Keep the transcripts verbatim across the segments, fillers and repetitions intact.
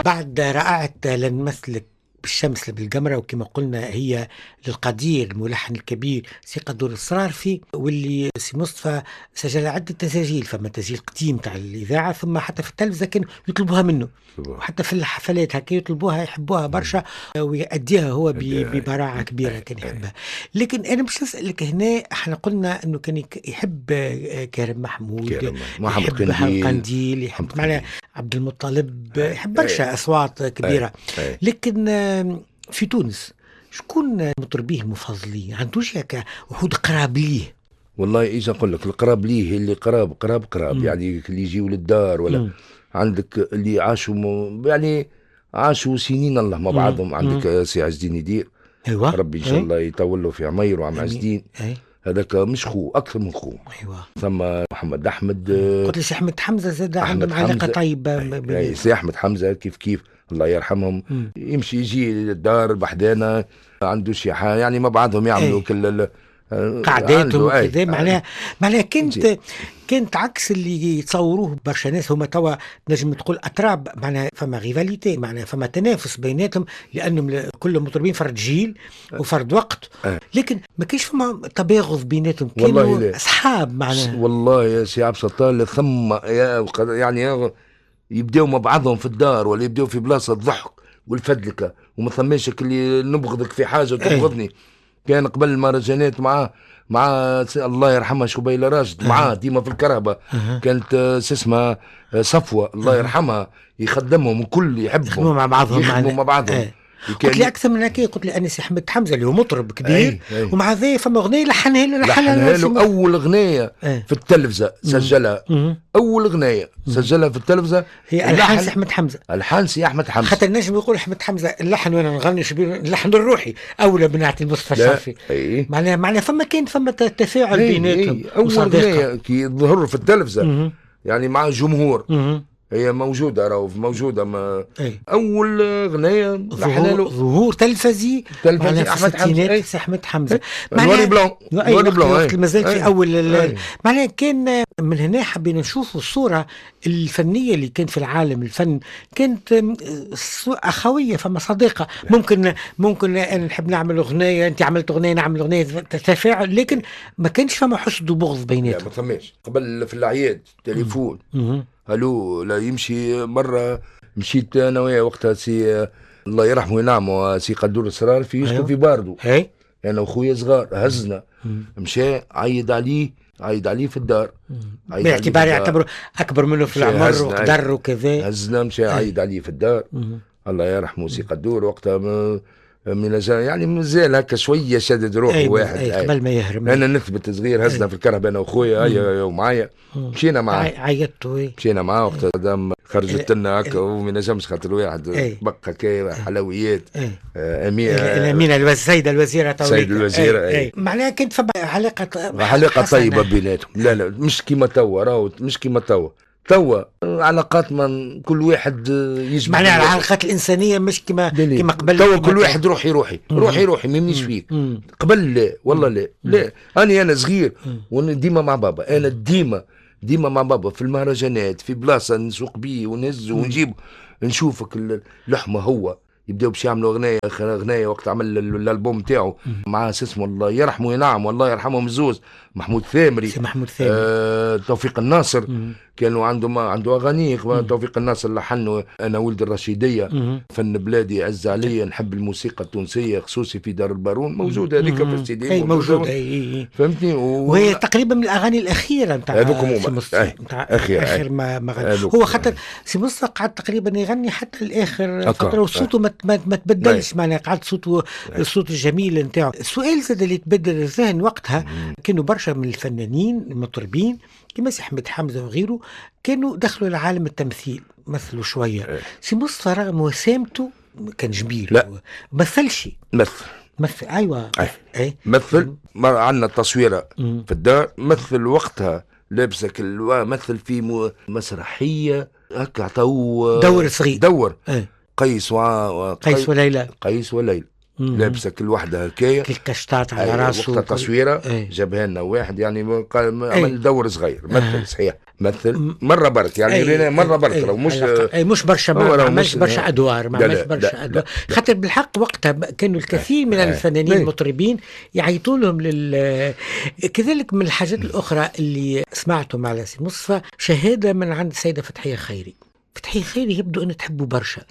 بعد رائعة لن مثلك بالشمس بالقمرة، وكما قلنا هي للقدير الملحن الكبير سي قدور الصرارفي، واللي سي مصطفى سجل عدة تساجيل، فما تسجيل قديم تاع الإذاعة، ثم حتى في التلفزة كانوا يطلبوها منه، وحتى في الحفلات هكا يطلبوها، يحبوها برشا ويأديها هو ببراعة كبيرة، كان يحبها. لكن أنا باش نسألك هنا، احنا قلنا أنه كان يحب كريم محمود، يحب قنديل، يحب معناها عبد المطلب، يحب برشا أصوات كبيرة. لكن في تونس شكون مطربيه المفضلين؟ عندوش هكا وحود قراب ليه؟ والله ايش نقول لك، القراب ليه اللي قراب قراب قراب، يعني اللي يجيو للدار ولا مم. عندك اللي عاشوا يعني عاشوا سنين الله مع بعضهم. مم. عندك سي عز الدين يدير، ايوه، ربي ان شاء الله يطول له في عمير وعم عز الدين، هذاك مش خو، اكثر من خو. ايوه. ثم محمد احمد، قلت لي سي احمد حمزة زاد عندهم علاقة طيبة. اي سي احمد حمزة كيف كيف الله يرحمهم. مم. يمشي يجي للدار بحدانا، عنده شي حاجة يعني مع بعضهم يعملوا كل قعداتهم وكذا. معناها معناها كانت كانت عكس اللي يتصوروه برشا ناس، هما توا نجم تقول اتراب، معناها فما rivalité، معناها فما تنافس بيناتهم، لانهم كلهم مطربين فرد جيل وفرد وقت، لكن ما كانش فما تباغض بيناتهم، كانوا اصحاب معناها. والله يا سي عبد الستار ثم يعني يبداو مع بعضهم في الدار ولا يبداو في بلاصة الضحك والفدلكه، وما ثماش اللي نبغضك في حاجة وتبغضني. كان قبل المهرجانات مع مع الله يرحمها شبيلة راشد، معاه ديما في الكرهبة. كانت اسمها صفوة الله يرحمها، يخدمهم الكل، يحبهم، يخدموا مع بعضهم، يخدموا مع بعضهم. أه. قلت لي اكثر من هكا، قلت لي انس احمد حمزة اللي هو مطرب كبير، أي أي. ومع ذا فما اغنية لحنها له، لحنها له اول اغنية في التلفزة سجلها. مم. اول اغنية سجلها في التلفزة هي الحان سي احمد حمزة، الحان سي احمد حمزة. خاطر نجم يقول احمد حمزة اللحن وانا نغني شبيه اللحن الروحي اولى بنعطي المصطفى الشرفي. معناها معناها فما كان فما تفاعل بيناتهم. اول اغنية كي ظهر في التلفزة. مم. يعني مع جمهور. مم. هي موجودة، راهو موجودة ما أي. أول أغنية ظهور, ظهور تلفزي تلفزي أحمد حمزة، أحمد حمزة noir et blanc، noir et blanc مازال في أول. معناها كان من هنا حبينا نشوفوا الصورة الفنية اللي كانت في العالم الفن، كانت أخوية، فما صديقة. ممكن ممكن أنا نحب نعمل أغنية، أنت عملت أغنية، نعمل أغنية، تفاعل، لكن ما كانش فما حسد وبغض بيناتهم. ما ثماش. قبل في الأعياد تليفون الو، لا يمشي. مرة مشيت انا وياه وقتها سي الله يرحمه وينعمه سي قدور السرارفي يسكن أيوه. في باردو، هي. انا وخويا صغار هزنا، مشى عيد عليه، عيد عليه في الدار، باعتبار يعتبره اكبر منه في العمر وقدر وكذا، هزنا مشى عيد عليه في الدار. مم. الله يرحمه سي قدور وقتها من يعني مازال هكا شوية شدد روحه. أي واحد أي قبل ما يهرب. انا نثبت صغير، هزنا في الكرهبه انا وخويا هيا ومعايا، مشينا معاه، عيطتوا، مشينا معاه وقتها دام خرجت لنا هكا وما نجمش خاطر الواحد بقى كي حلويات. امينه الامينة السيدة الوزيرة، السيدة الوزيرة. معناها كانت فما علاقة علاقة طيبة بيناتهم. لا لا مش كيما توا، راهو مش كيما توا. توا علاقات من كل واحد يجب، معناها العلاقات الانسانية مش كما كما قبل. توا كل واحد روحي روحي روحي روحي ما يهمنيش فيك. قبل لا والله لا لا، انا انا صغير وانا ديما مع بابا، انا ديما ديما مع بابا في المهرجانات، في بلاصة نسوق بيه ونهز ونجيب، نشوفك اللحمة هو يبداو باش يعملوا اغنية اغنية وقت عمل الالبوم تاعو مع اسمه الله يرحمه ينعم والله يرحمهم الزوز، محمود ثامري، محمود ثامري، آه، توفيق الناصر. مم. كانوا عندهم عنده اغاني. توفيق الناصر لحنه انا ولد الرشيديه، مم. فن بلادي عز عليا، نحب الموسيقى التونسية خصوصي في دار البارون، موجودة هذيك في السي دي، اي موجودة، اي فهمتني. و... وهي تقريبا من الاغاني الاخيرة نتاع هذوك هما اخر اخر ما, ما غنى هو، خاطر سي مصطفى قعد تقريبا يغني حتى الاخر فترة، وصوته ما, ما تبدلش، معناها قعد صوته الصوت الجميل نتاعو. السؤال زاد اللي تبدل الذهن وقتها، كانوا برشا من الفنانين المطربين كما سي احمد حمزة وغيره كانوا دخلوا لعالم التمثيل، مثلوا شوية. سي مصطفى رغم وسامته كان جميل، لا مثلش، مثل مثل ايوه أي. أي. مثل عندنا تصويره في الدار، مثل وقتها لابسه مثل في مسرحية هكا، عطاو دور صغير، دور أي. قيس و... قيس وليلى، قيس وليلى. لابسه كل وحده هكايا كل كشطات على راسه. وقتها تصويره جابها لنا واحد يعني عمل دور صغير مثل صحيح مثل مرة برك يعني مرة برك لو مش اي مش برشا ما عملش برشا ادوار ما عملش برشا ادوار خاطر بالحق وقتها كانوا الكثير من الفنانين المطربين يعيطوا لهم لل كذلك من الحاجات الاخرى اللي سمعتهم على سي مصطفى شهادة من عند السيدة فتحيه خيري. فتحيه خيري يبدو ان تحبوا برشا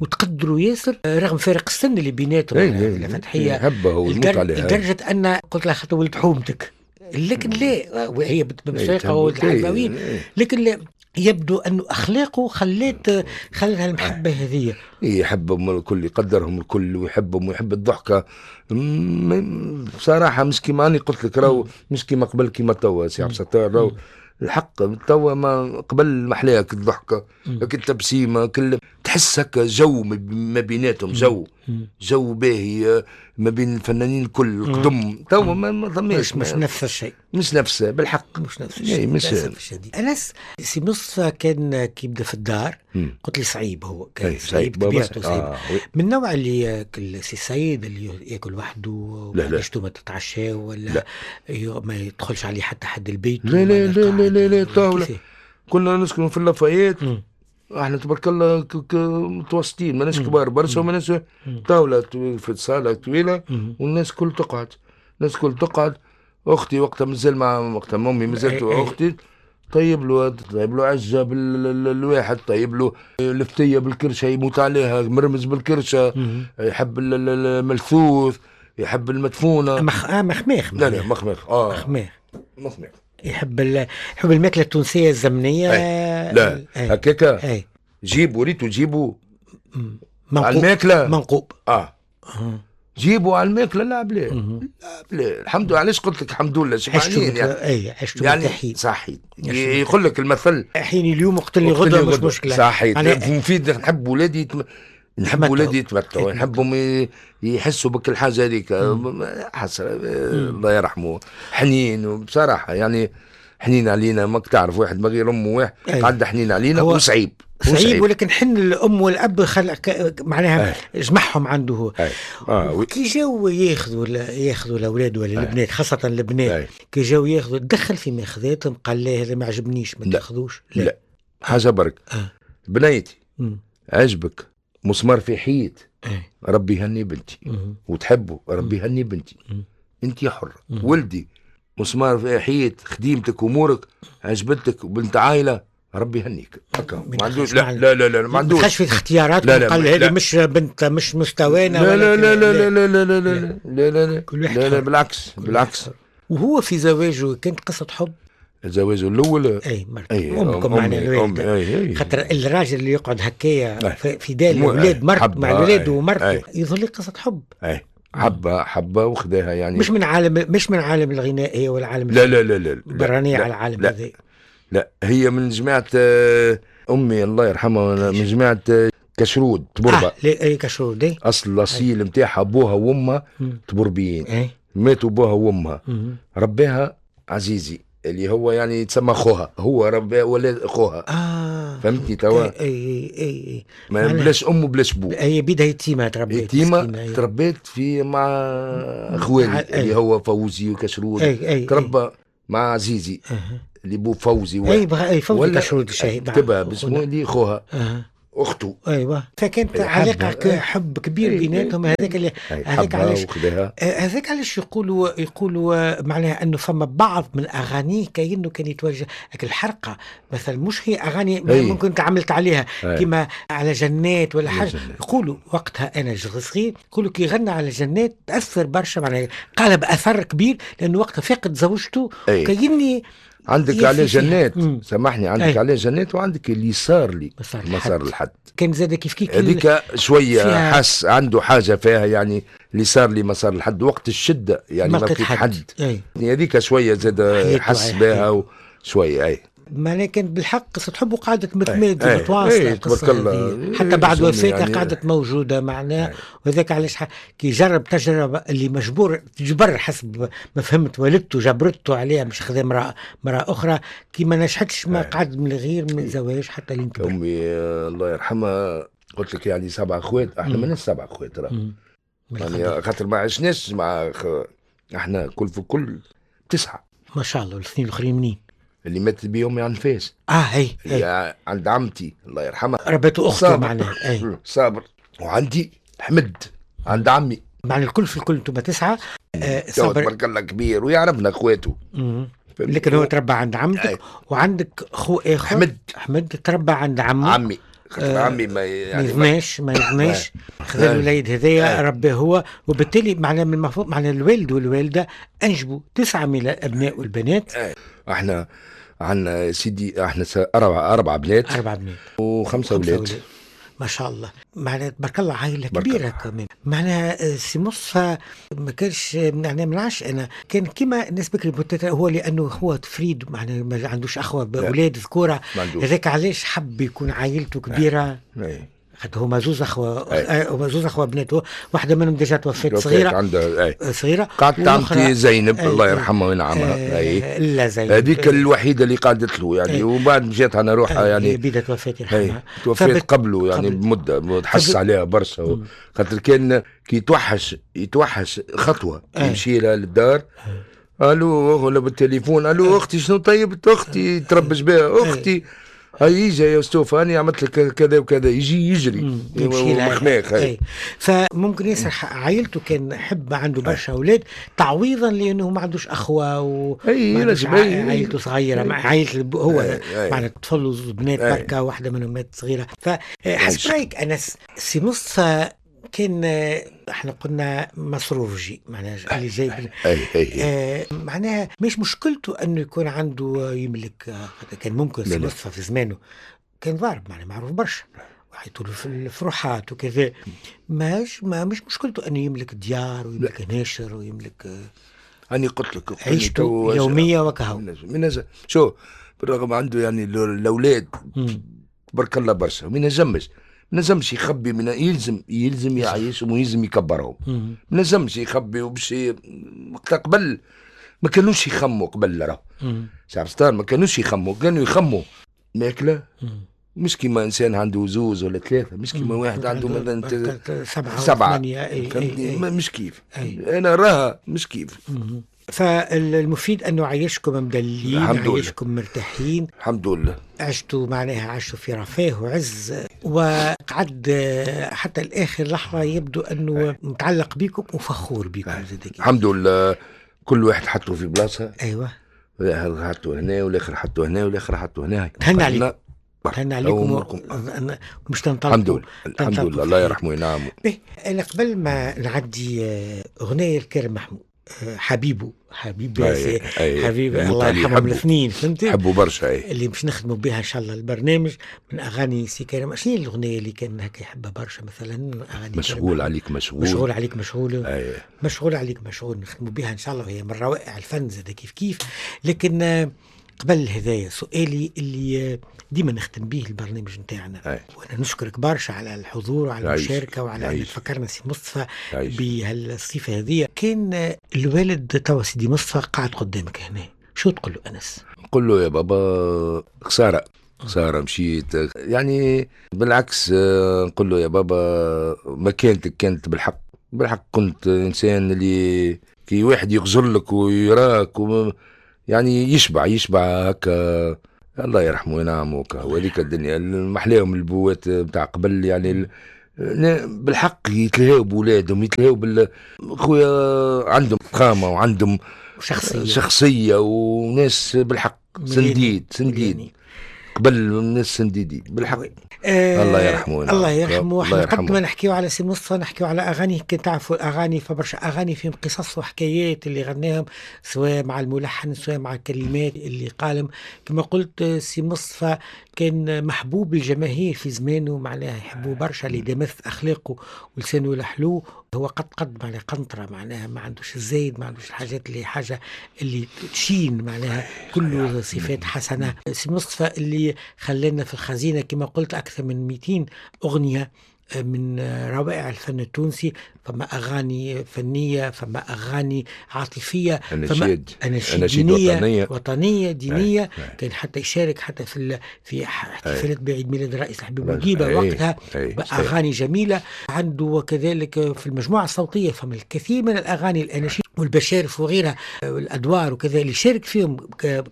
وتقدروا ياسر رغم فارق السن اللي بيناتهم. فتحيه لدرجة ان قلت لها خاطر ولد حومتك، لكن لا وهي بالسيقه وولد الحلفاويين، لكن لا يبدو انه اخلاقه خلت خلتها المحبة هذه. يحبهم الكل، يقدرهم الكل ويحبهم ويحب الضحكة. بصراحة مش كيما اني قلت لك راهو مش كيما قبل كيما توا سي عبد الستار، راهو الحق توا ما قبل محلاك الضحكة التبسيمه كل تحس هكا جو ما بيناتهم، جو جو باهي ما بين الفنانين الكل القدم. توا ما ثماش، مش نفس الشيء، مش نفس بالحق، مش نفس الشيء. مش انس سي مصطفى كان كي يبدا في الدار قلت لي صعيب، هو كان صعيب طبيعته صعيب. آه. من النوع اللي ياكل سي سيد اللي ياكل وحده وما ما تتعشى ولا لا. ما يدخلش عليه حتى حد البيت. لا لا لا لا لا, لا طاولة كنا نسكن في اللافايات احنا تبارك الله متوسطين، ماناش كبار برشا وماناش طاولة في الصاله طويلة والناس كل تقعد، الناس كل تقعد. اختي وقتها مازال مع وقتها امي مازالت اختي طيب له طيب له عجة بالواحد، طيب له لفتيه بالكرشه يموت عليها، مرمز بالكرشه، يحب الملثوث، يحب المدفونه. مخ... آه مخماخ. لا لا مخماخ اه مخماخ مخماخ يحب ال... يحب الماكلة التونسية الزمنية. أي. لا هكاكا جيبوا ريتو جيبوا على الماكلة منقوب اه جيبوا على الماكلة. لا بلا لا بلا الحمد لله. علاش قلت لك الحمد لله شبعانين يعني. اي عشتوا يعني صحيح يقول لك المثل حين اليوم اقتلني غدوه مش مشكلة. صحيح مفيد. نحب ولادي يتم... نحب ولادي يتمتعوا، نحبهم يحسوا بكل حاجة هذيك. حسرة الله يرحمه حنين، وبصراحة يعني حنين علينا، ماك تعرف واحد ما غير امه واحد قعد حنين علينا وصعيب صعيب، ولكن حن الام والاب خلق معناها جمعهم عنده هو. آه. كي جاو ياخذوا ياخذوا الاولاد ولا البنات، خاصة البنات، كي جاو ياخذوا دخل في ماخذاتهم قال لا هذا ما عجبنيش ما تاخذوش. لا. لا حاجة برك. آه. بنيتي م. عجبك مسمار في حيط، ربي يهني بنتي. م. وتحبه ربي يهني بنتي. انت حره. ولدي مسمار في حيط، خديمتك امورك عجبتك وبنت عائلة ربي يهنيك. هكا ما عندوش. لا لا لا لا ما عندوش ما في اختيارات. قال هذه مش بنت مش مستوانا. لا لا لا لا لا لا لا لا لا لا لا لا بالعكس بالعكس. وهو في زواجه كانت قصة حب. زواجه الاول اي مرته امكم معناها الوالدة، خاطر الراجل اللي يقعد هكايا في دار الاولاد مرته مع الاولاد ومرته يظل لي قصة حب. اي حبه حبه وخداها يعني مش من عالم مش من عالم الغناء هي ولا عالم لا لا لا لا برانيه على العالم هذا. لا هي من جماعة أمي الله يرحمها، من جماعة كشرود تبربة. آه اي كشرود اي أصل الأصيل نتاعها أبوها وأمها تبربيين. اي ماتوا أبوها وأمها. رباها عزيزي اللي هو يعني يتسمى خوها، هو رباه ولا خوها. اه فهمتني توا؟ اي اي اي ما بلاش أم وبلاش بو. هي بيدها يتيمة تربيت. يتيمة تربيت في مع خوالي اللي هو فوزي وكشرود. اي اي تربى مع عزيزي. أه. اللي بو فوزي واحد. اي بغ... اي فوزي كشرود الشهيد كتبها باسمه اللي خوها. أه. اخته. ايوه فكانت علاقة حب كبير بيناتهم. هذاك اللي هذاك علاش هذاك علاش يقولوا يقولوا معناها انه فما بعض من اغانيه كأنه كان يتوجه الحرقة مثلا، مش هي اغاني أي. ممكن تعملت عليها كما على جنات ولا حاجة. يقولوا وقتها انا صغير يقولوا كي غنى على جنات تاثر برشا، معناها قال باثر كبير لانه وقتها فقد زوجته كأني عندك عليه جنات. سامحني عندك عليه جنات وعندك اللي صار لي ما صار لحد. كان زاد كيف كيف هذيك شوية حس عنده حاجة فيها يعني اللي صار لي ما صار لحد وقت الشدة يعني ما لقيت حد. هذيك شوية زاد حس بها شوية. اي معناها كانت بالحق قصة حب وقعدت متمادة متواصلة القصة حتى بعد وفاتها يعني قعدت موجودة معناها. وهذاك علاش كي جرب تجربة اللي مجبور تجبر حسب ما فهمت والدته جبرته عليها مش خذا امرأة امرأة أخرى، كي ما نجحتش ما قعد من غير من زواج حتى لين كبر. أمي الله يرحمها قلت لك يعني سبع أخوات، احنا ماناش سبع أخوات راه. يعني خاطر ما عشناش مع خ... احنا كل في كل تسعة. ما شاء الله. والاثنين الاخرين منين؟ اللي ماتت بيهم عند فاس. اه هي هي عند عمتي الله يرحمها، ربته اخته معناها. اي صابر. وعندي حمد عند عمي. معنى الكل في الكل انتم تسعة. آه صابر تبارك الله كبير ويعرفنا اخواته. لكن هو تربى عند عمتك. أي. وعندك خو اخر حمد. حمد تربى عند عمه. عمي خاطر آه عمي ما يعني ما يغناش ما يغناش خذا الوليد هذايا رباه هو، وبالتالي معنى من المفروض معنى الوالد والوالدة انجبوا تسعة من الابناء والبنات. آه. احنا عندنا سيدي احنا اربع اربع بنات اربع بنات وخمسة اولاد. ما شاء الله، معناها تبارك الله عائلة كبيرة كمان. معناها سي مصطفى ما كانش معناها ما نعرفش انا كان كيما الناس بكري، هو لانه هو تفريد معناها ما عندوش اخوه اولاد ذكوره، هذاك علاش حب يكون عائلته كبيرة. خاطر هما زوز اخوه، هما زوز اخوه بنات، واحدة منهم déjà توفت صغيرة عندها اي صغيرة. قعدت عمتي زينب الله يرحمها وينعمها. اي لا زينب هذيك الوحيدة اللي قعدت له يعني، وبعد مشات على روحها يعني. بيدا توفات يرحمها، توفات قبله يعني بمدة، تحس عليها برشا خاطر كان كي يتوحش يتوحش خطوة يمشي لها للدار. الو ولا بالتليفون، الو اختي شنو طيبت، اختي تربش بها اختي، هاي يجي يا مصطفى انا عملت لك كذا وكذا، يجي يجري يمشي لها. فممكن ياسر عائلته كان حب عنده برشا اولاد تعويضا لانه ما عندوش اخوه و عائلته صغيرة، مع عائلة هو معناتها طفل بنات بركة، واحدة منهم مات صغيرة. فحسب رايك انس سي مصطفى كان احنا قلنا مصروفجي معناها اللي جايب آه معناها مش مشكلته انه يكون عنده يملك، كان ممكن سي مصطفى في زمانه كان ضارب معناها معروف برشا وحيطوا له في الفروحات وكذا، ماش ما مش مشكلته انه يملك ديار ويملك ناشر ويملك. اني قلت لك عيشته يومية وكهو. شو بالرغم عنده يعني الاولاد تبارك الله برشا، ما ينجمش ما نجمش يخبي، من يلزم يلزم يعيشهم ويلزم يكبرهم، ما نجمش يخبي. وباش وقتها قبل ما كانوش يخموا قبل راه سي ما كانوش يخموا، كانوا يخموا ماكله، مش كيما انسان عنده زوز ولا ثلاثة، مش كيما واحد عنده مثلا سبعة سبعة فهمتني؟ مش كيف. أي. انا راها مش كيف. مم. فالمفيد انه عايشكم مدللين، عايشكم مرتاحين الحمد لله، عشتوا معناها عشتوا في رفاه وعز، وقعد حتى الاخر لحظة يبدو انه متعلق بكم وفخور بكم. الحمد لله كل واحد حطه في بلاصة. ايوه، هذا حطه هنا والاخر حطه هنا والاخر حطه هنا. تهنى عليكم، تهنى عليكم ومش تنطلقوا. الحمد لله الحمد لله الله يرحمه وينعمه. انا قبل ما نعدي اغنية الكريم محمود حبيبه حبيب أي أي حبيب الله يرحمهم الاثنين، فهمتي؟ حبوا برشا. اي اللي باش نخدموا بها ان شاء الله البرنامج من اغاني سي كريم. شنو الاغنية اللي كان هكا يحبها برشا مثلا؟ اغاني مشغول عليك مشغول، مشغول عليك مشغول، أي. مشغول عليك مشغول نخدموا بها ان شاء الله، وهي من روائع الفن زاد كيف كيف. لكن قبل هذايا سؤالي اللي ديما نختم به البرنامج نتاعنا، وانا نشكرك برشا على الحضور وعلى المشاركة وعلى ان تفكرنا سي مصطفى بهالصفه هذه. كان الوالد توا سيدي مصطفى قاعد قدامك هنا، شو تقول له انس؟ نقول له يا بابا خسارة خسارة مشيت، يعني بالعكس نقول له يا بابا مكانتك كانت بالحق بالحق، كنت انسان اللي كي واحد يغزر لك ويراك و يعني يشبع يشبع هكا، الله يرحمه وينعمه. وهذيك الدنيا محلاهم البوات نتاع قبل، يعني بالحق يتلهاو بولادهم، يتلهاو بال خويا عندهم فخامة وعندهم شخصية شخصية وناس بالحق سنديد سنديد قبل الناس سنديدي بالحق. آه الله يرحمه الله يرحمه. احنا قد ما نحكيو على سي مصطفى نحكيو على اغاني، كي تعرفوا الاغاني فبرشا اغاني فيهم قصص وحكايات اللي غناهم سواء مع الملحن سواء مع الكلمات اللي قالم. كما قلت سي مصطفى كان محبوب الجماهير في زمانه، معناها يحبوه برشا اللي دمث اخلاقه ولسانه الحلو. هو قد قد معناها قنطرة، معناها ما عندوش الزايد، ما عندوش الحاجات اللي حاجة اللي تشين، معناها كله صفات حسنه. سي مصطفى اللي خلانا في الخزينة كما قلت اكثر من مئتين اغنية من روائع الفن التونسي. فما أغاني فنية، فما أغاني عاطفية، أناشيد أناشيد دينية وطنية, وطنية دينية. أي. أي. كان حتى يشارك حتى في في احتفالات بعيد ميلاد الرئيس الحبيب بورقيبة وقتها بأغاني جميلة عنده. وكذلك في المجموعة الصوتية فما الكثير من الأغاني الأناشيد والبشارف وغيرها والأدوار وكذا اللي شارك فيهم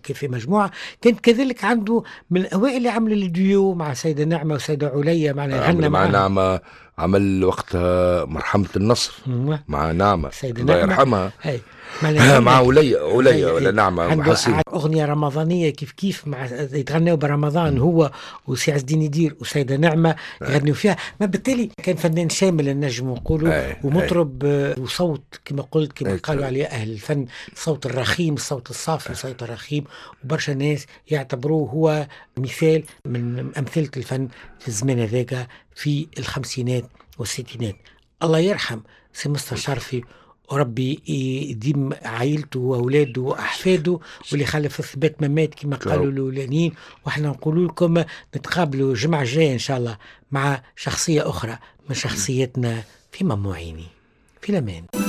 في مجموعة. كان كذلك عنده من الأوائل اللي عملوا الديو مع سيدة نعمة وسيدة عليا، معنا غنى مع نعمة، عمل وقتها مرحمة النصر مع نعمة الله يرحمها، مع عليا عليا ولا نعمة. أغنية رمضانية كيف كيف مع يتغنوا برمضان هو وسي عز الدين يدير وسيدة نعمة يغنوا فيها. ما بالتالي كان فنان شامل النجم نقولوا، ومطرب وصوت كما قلت كما قالوا عليه أهل الفن صوت الرخيم، الصوت الصافي، صوت الرخيم. وبرشا ناس يعتبروه هو مثال من أمثلة الفن في الزمان هذاك في الخمسينات والستينات. الله يرحم سي مصطفى الشرفي وربي يديم عائلته واولاده واحفاده واللي خلف الثبات ما مات كما قالوا الاولانيين. واحنا نقول لكم نتقابلوا الجمعة الجاية ان شاء الله مع شخصية اخرى من شخصيتنا في مموعيني. في الامان.